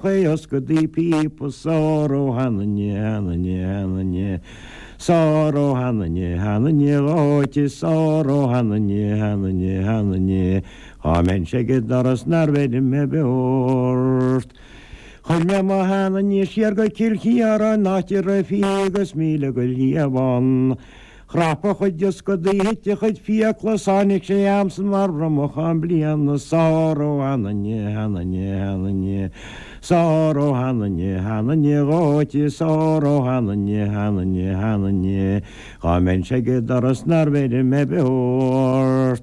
Ioscadaí píopa 's óró sheanainne, sheanainne, sheanainne, 's óró sheanainne, sheanainne dhóite 's óró sheanainne, sheanainne, sheanainne, dhá mbeinnse ag an doras nár bheir mé beo ort. Chuir mé mo sheanainne siar go Cill Chiaráin áit a raibh fiche agus 1000 go liamhán. Chrap a chuid ioscadaí, thit a chuid fiacla, 's tháinig sé a'msa mar bhromachán bliana, 's óró sheanainne, sheanainne, sheanainne, 's óró sheanainne, sheanainne dhóite, 's óró sheanainne, sheanainne, sheanainne, dhá mbeinnse ag an doras nár bheir mé beo ort.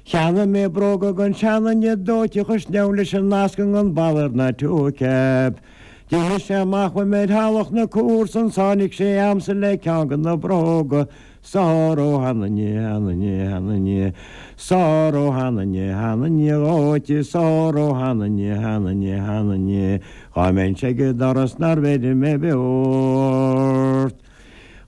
Cheannaigh mé bróga don seanduine dóite chuir sneabhail leis an ascaill an balla ar na toe-cap. D'imigh sé amach uaim ar theallach na comharsan 's tháinig sé a'msa le ceann de na bróga 's óró sheanainne, sheanainne, sheanainne, 's óró sheanainne, sheanainne dhóite 's óró sheanainne, sheanainne, sheanainne, dhá mbeinnse ag an doras nár bheir mé beo ort.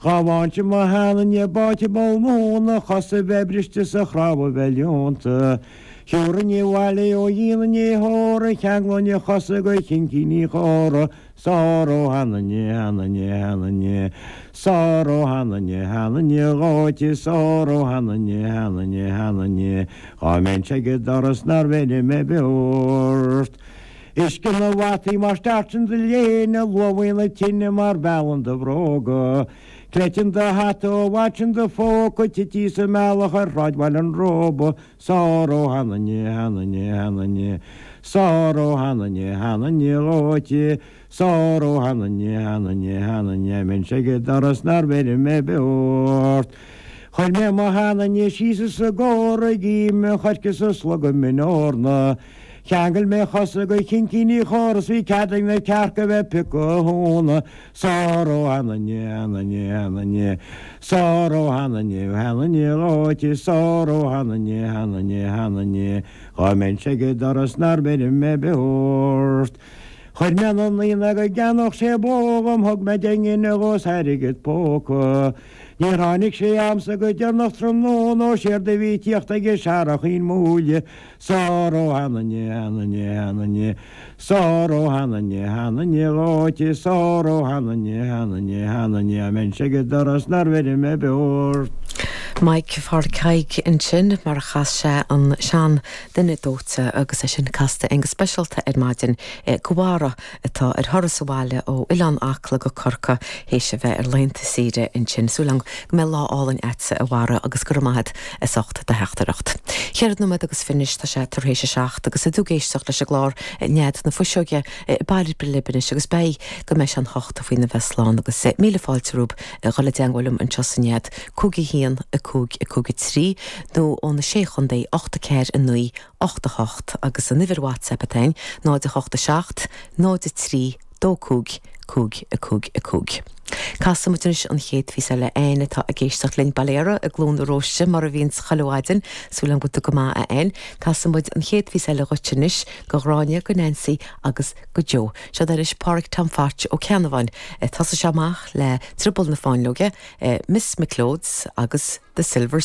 Dhá bhfaighinnse mo sheanduine báite i bpoll móna, a chosa a bheith briste 's a chnámha bheith leonta. Thiúrfainn abhaile é ó dhíon an fhéitheora, cheanglóinn a chosa go chincíní chóra, 's óró sheanainne, sheanainne, sheanainne, 's óró sheanainne, sheanainne dhóite, 's óró sheanainne, sheanainne, sheanainne, dhá mbeinnse ag an doras nár bheir mé beo ort. Uisce na bhfataí mar stairteann do léine, luamhaíonn na tine mar mheallann do bhróga. Cleiteann do hata ó bhfaiteann do phóca, tití sa mbealach ar Shráid Bhaile an Róba, 's óró sheanainne, sheanainne, sheanainne, 's óró sheanainne, sheanainne dhóite, 's óró sheanainne, sheanainne, sheanainne, dhá mbeinnse ag an doras nár bheir mé beo ort. Chuir mé mo sheanainne síos as an gcófra ag ime an choirce 's ag slogadh min eorna. Cheangail mé a chosa go chincíní chóra 's bhí cead ag na cearca bheith piocadh a thóna 's óró sheanainne, sheanainne, sheanainne, 's óró sheanainne, sheanainne dhóite, 's óró sheanainne, sheanainne, sheanainne, dhá mbeinnse ag an doras nár bheir mé beo ort. Chuir mé 'na naíonáin go gceannódh sé bó dhom, thug mé 10 ngine dhó 's airgead póca. Níor tháinig sé a'msa go deireanach tráthnóna ó séard a bhí tíocht aige searrachín múille 's óró sheanainne, sheanainne, sheanainne, 's óró sheanainne, sheanainne dhóite, 's óró sheanainne, sheanainne, sheanainne, dhá mbeinnse ag an doras nár bheir mé beo ort. Mike Pháraic Thaidhg ansin mar a chas sé an sean duine dóite agus é sin casta againn go speisialta ar maidin go Bharra atá ar thuras abhaile ó Oileán Acla go Corcaigh théis a bheith ar laethanta saoire ansin. Súil agam go mbeidh lá álainn a'dsa a Bharra agus go raibh maith a'd as ucht do theachtaireacht. Cheithre nóiméad agus fiche anois tá sé tar éis a seacht agus tú ag éisteacht leis an gclár Nead na Fuiseoige ag baile libh anois agus beidh go mbeidh sé an hocht faoina bheith slán agus míle fáilte romhaibh a dhul i dteangmháil liom anseo sa Nead 5 1 5 5 3 nó ó na Sé Chontae 8 4 9 8 8 agus an uimhir WhatsApp atá ann, 0 8 7 0 3 2 5 5 5 5. Casfaidh muid anois an chéad phíosa eile Ann atá ag éisteacht linn Baile Earra i gCluain na Róiste mar a bhíonns chuile mhaidin. Súil agam go bhfuil tú go maith a Ann. Casfaidh muid an chéad phíosa eile dhuit anois, go Ghráinne, go Nancy agus go Joe. Seod é anois Páraic Tom Phatch Ó Ceannabháin. Tosóidh sé amach le Drioball na Fáinleoige, Miss McLeod's agus The Silver.